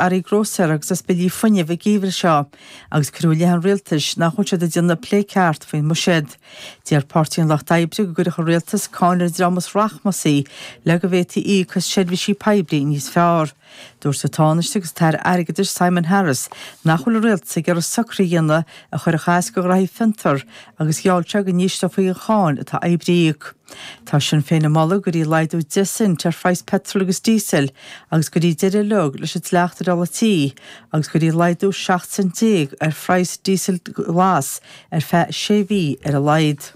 Earraí Grósaera agus as billí fuinnimh an geimhreadh seo agus cuireadh i leith an rialtais nach bhfuil siad ag déanamh plé ceart faoin mbuiséad. Deir Páirtí an Lucht Oibre go gcuirfeadh an rialtas cáin ar an dream is rachmasaí le go bhféadfaí íoc as seirbhísí poiblí níos fearr. Dúirt an Tánaiste agus an tAire Airgeadais Simon Harris nach bhfuil an rialtas ag iarraidh socruithe a dhéanamh a chuirfeadh as do ghraithí fiontar agus gheall sé go n-ísleofaí an cháin atá oibrithe a íoc. Tá Sinn Féin ag moladh go gcuirfí laghdú 10 cent ar phraghas peitril agus díosail agus go gcuirfí deireadh uilig leis an dleacht ar ola tí agus go gcuirfí laghdú 17 cent ar phraghas díosail glas ar feadh sé mhí ar a laghad.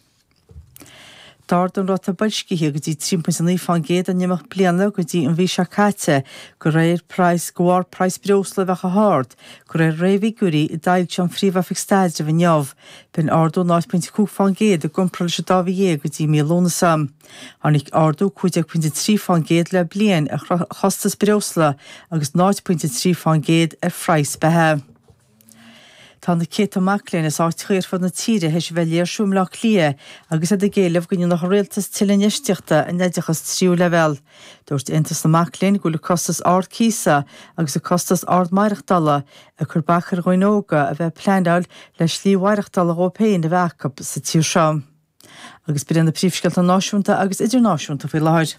D'ardaigh an ráta boilscithe go dtí 3.9% in imeacht bliana go dtí an mhí seo caite de réir praghas de bharr praghas breosla a bheith chomh hard, de réir réamhfhigiúirí a d'fhoilsigh an Phríomh-Oifig Staidrimh inniu. B'in ardú 0.5% i gcomparáid leis an dá mhí dhéag go dtí mí Lúnasa. Tháinig ardú 15.3% le bliain ar chostas breosla agus 0.3% ar phraghas beatha. Tá na céadta mac léinn as áiteacha ar fud na tíre théis a bheith ag léirsiú i mBleá Cliath agus iad ag éileamh go ndéanfadh an rialtas tuilleadh infheistíochta in oideachas tríú leibhéal. Dúirt Aontas na Mac Léinn go bhfuil an costas ard cíosa agus an costas ard maireachtála ag cur bac ar dhaoine óga a bheith ag pleanáil le slí mhaireachtála dhóibh féin a bheith acu sa tír seo. Agus b'in iad na príomhscéalta náisiúnta agus idirnáisiúnta faoi láthair.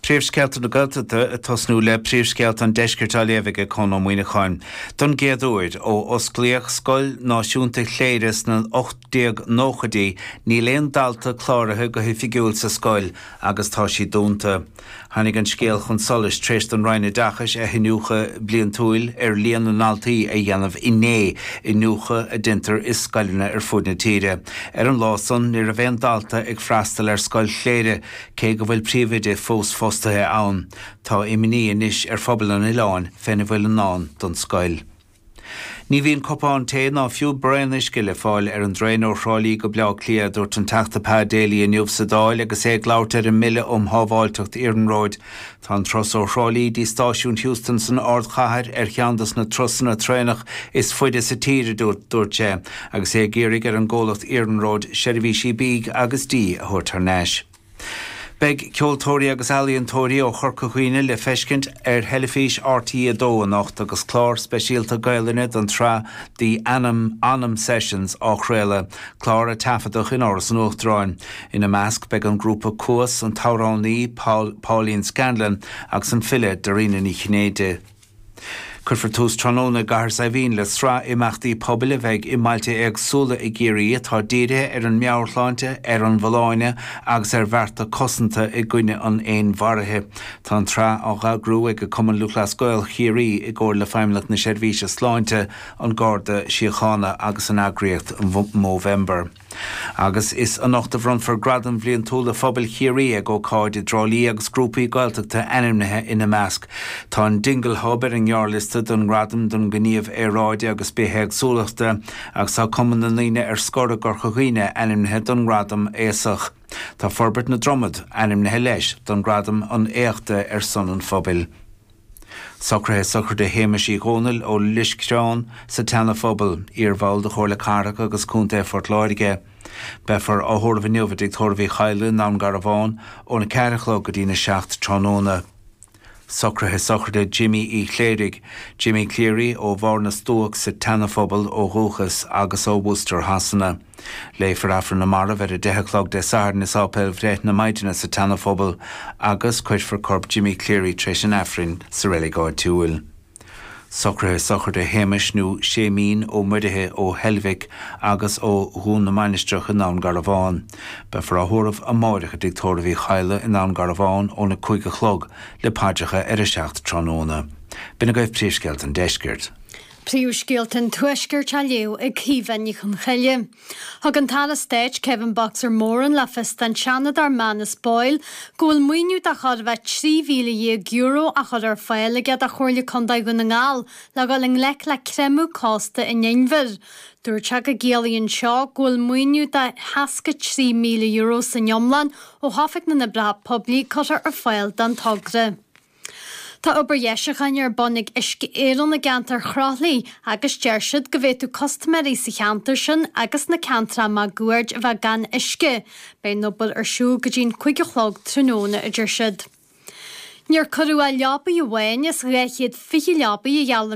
Príomhscéalta na Gaeltachta ag tosnú le príomhscéalta an Deiscirt á léamh ag Conn Ó Muíneacháin. Don gcéad uair ó osclaíodh Scoil Náisiúnta Chléire sna 1890idí níl aon dalta cláraithe go hoifigiúil sa scoil agus tá sí dúnta. Tháinig an scéal chun solais tar éis don Roinn Oideachais a hiniúchadh bliantúil ar líon na ndaltaí a dhéanamh inné, iniúchadh a deintear i scoileanna ar fud na tíre. Ar an lá san, ní raibh aon dalta ag freastal ar Scoil Chléire, cé go bhfuil príomhoide fós fostaithe ann. Tá imní anois ar phobal an oileáin féna bhfuil i ndán don scoil. Ní bhíonn cupán tae ná fiú braon uisce le fáil ar an dtraein ó Thrá Lí go Bleá Cliath, a dúirt an Teachta Pa Daly inniu sa Dáil agus é ag labhairt ar an mBille um Shábháilteacht Iarnróid. Tá an turas ó Thrá Lí dtí stáisiún Heuston san ardchathair ar cheann dos na turasanna traenach is faide sa tír, a dúirt sé, agus é ag iarraidh ar an gcomhlacht iarnróid seirbhísí bídh agus dí a thabhairt thar n-ais. Beidh ceoltóirí agus ealaíontóirí ó Chorca Dhuibhne le feiscint ar theilifís RTÉ 2 anocht agus clár speisialta Gaelainne den tsraith The Anam Anam Sessions á chraoladh, clár a taifeadadh in Áras an Uachtaráin. Ina measc beidh an grúpa Cuas, an t-amhránaí Pauline Scanlon agus an file Dairena Ní Chinnéide. Cuirfear tús tráthnóna i gCathair Saidhbhín le sraith imeachtaí pobail a bheidh i mbailte éagsúla i gCiarraí atá dírithe ar an meabhairshláinte, ar an bhfolláine agus ar bhearta cosanta i gcoinne an fhéinmharaithe. Tá an tsraith á heagrú ag Cumann Lúthchleas Gael Chiarraí i gcomhar le Feidhmeannacht na Seirbhíse Sláinte, An Garda Síochána agus an eagraíocht Movember. Agus is anocht a bhronnfar Gradaim Bhliantúla Phobail Chiarraí ag ócáid i dTrá Lí agus grúpaí Gaeltachta ainmnithe ina measc. Tá an Dingle Hub ar an ngearrliosta don nGradam don Ghníomh Aeráide agus Bithéagsúlachta agus tá Cumann na nDaoine ar Scor i gCorca Dhuibhne ainmnithe don nGradam Aosach. Tá Forbairt na Dromad ainmnithe leis don Ghradam an Éachta ar son an Phobail. Socruithe sochraide Shéamais Uí Dhónaill ó Loiscreán sa tSeana-Phobal, iar-bhall de Chomhairle Cathrach agus Contae Phort Láirge. Beifear á thórramh inniu i dTigh Tórraimh Uí Chadhla i nDún Garbhán óna 4 a chlog go dtína 7 tráthnóna. Socruithe sochraide Jimmy Uí Chléirigh, Jimmy Cleary, ó Bharr na Stuac sa tSeana-Phobal ó dhúchas agus ó Worcester Shasana. Léifear Aifreann na Marbh ar a 10 a chlog Dé Sathairn i Sáipéal Bhreith na Maighdine sa tSeana-Phobal agus cuirfear corp Jimmy Cleary tar éis an Aifrinn sa reilig áitiúil. Socruithe sochraide Shéamais nó Séimín Ó Muirithe ó Heilbhic agus ó Dhún na Mainistreach i nDún Garbhán. Beifear á thórramh amáireach i dTigh Tórraimh Uí Chadhla i nDún Garbhán óna 5 a chlog le paidreacha ar a 7 tráthnóna. B'in agaibh príomhscéalta an deiscirt. Príomhscéalta an Tuaiscirt á léamh ag Caoimhe Ní Chonchoille. Thug an tAire Stáit Kevin 'Boxer' Moran le fios don Seanadóir Manus Boyle go bhfuil maoiniú de chóir a bheith €13,000 á chur ar fáil aige do Chomhairle Contae Dhún na nGall le dhul i ngleic le creimeadh cósta an inbhir. Dúirt sé go gciallaíonn seo go bhfuil maoiniú de €63,000 san iomlán ó Oifig na nOibreacha Poiblí curtha ar fáil don togra. Tá obair dheisiúcháin ar bun ag Uisce Éireann i gceantar Chroithlí agus deir siad go bhféadfadh custaiméirí sa cheantar sin agus sna ceantracha máguaird a bheith gan uisce. Beidh an obair ar siúl go dtí'n 5 a chlog tráthnóna, a deir siad. Níor cuireadh ach leabaidh amháin as 220 leabaidh a gheall an.